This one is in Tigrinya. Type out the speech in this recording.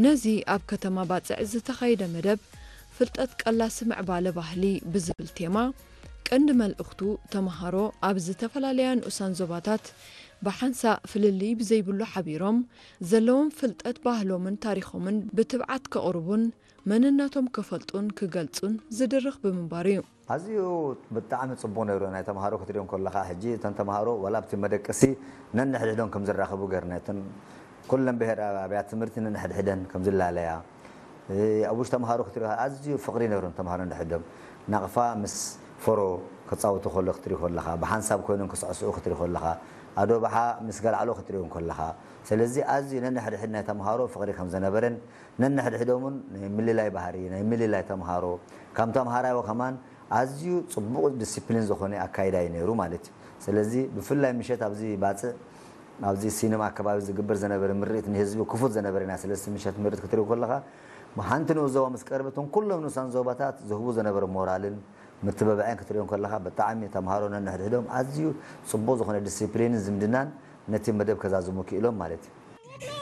ነዚ ኣብ ከተማ ባጽዕ ዝተኻየደ መደብ ፍልጠት ቀላሲ ምዕባለ ባህሊ ብዝብል ቴማ ቀንዲ መልእኽቱ፣ ተምሃሮ ኣብ ዝተፈላለያ ንኡሳን ዞባታት ብሓንሳእ ፍልልይ ብዘይብሉ ሓቢሮም ዘለዎም ፍልጠት ባህሎምን ታሪኾምን ብትብዓት ከቕርቡን መንነቶም ክፈልጡን ክገልጹን ዝድርኽ ብምንባሩ እዩ። ኣዝዩ ብጣዕሚ ጽቡቕ ነይሩ። ናይ ተምሃሮ ክትሪኦም ከለኻ ሕጂ እተን ተምሃሮ ዋላ ኣብቲ መደቀሲ ነንሕድሕዶም ከም ዝራኸቡ ገርና እተን ኩለን ብሄር ኣብያት ትምህርቲ ነንሕድሕደን ከም ዝላለያ ኣብ ውሽጢ ተምሃሮ ክትሪኦ ኣዝዩ ፍቕሪ ነይሮም ተምሃሮ ነንሕድሕዶም ናቕፋ ምስ ፈሮ ክጻወቱ ከሎ ክትሪኦ ከለኻ ብሓንሳብ ኮይኖም ክስዕስዑ ክትሪኦ ከለኻ ኣዶባሓ ምስ ገልዓሎ ክትሪኦም ከለኻ ስለዚ ኣዝዩ ነንሕድሕድ ናይ ተምሃሮ ፍቕሪ ከም ዝነበረን ነንሕድሕዶም እውን ናይ ምልላይ ባህሪ ናይ ምልላይ ተምሃሮ ካብ ተምሃራዮ ከማን ኣዝዩ ጽቡቕ ዲሲፕሊን ዝኾነ ኣካይዳ እዩ ነይሩ ማለት እዩ። ስለዚ ብፍላይ ምሸት ኣብዚ ባጽዕ ኣብዚ ሲነማ ኣከባቢ ዝግበር ዝነበረ ምርኢት ንህዝቢ ክፉት ዝነበረ ኢና። ስለዚ ምሸት ምርኢት ክትሪኦ ከለኻ ሓንቲ ንኡስ ዞባ ምስ ቀረበትን ኩሎም ንኡሳን ዞባታት ዝህቡ ዝነበረ ሞራልን ምትብባዕን ክትሪኦም ከለኻ ብጣዕሚ ተምሃሮ ነንሕድሕዶም ኣዝዩ ጽቡቕ ዝኾነ ዲሲፕሊንን ዝምድናን ነቲ መደብ ከዛዝሙ ክኢሎም ማለት እዩ።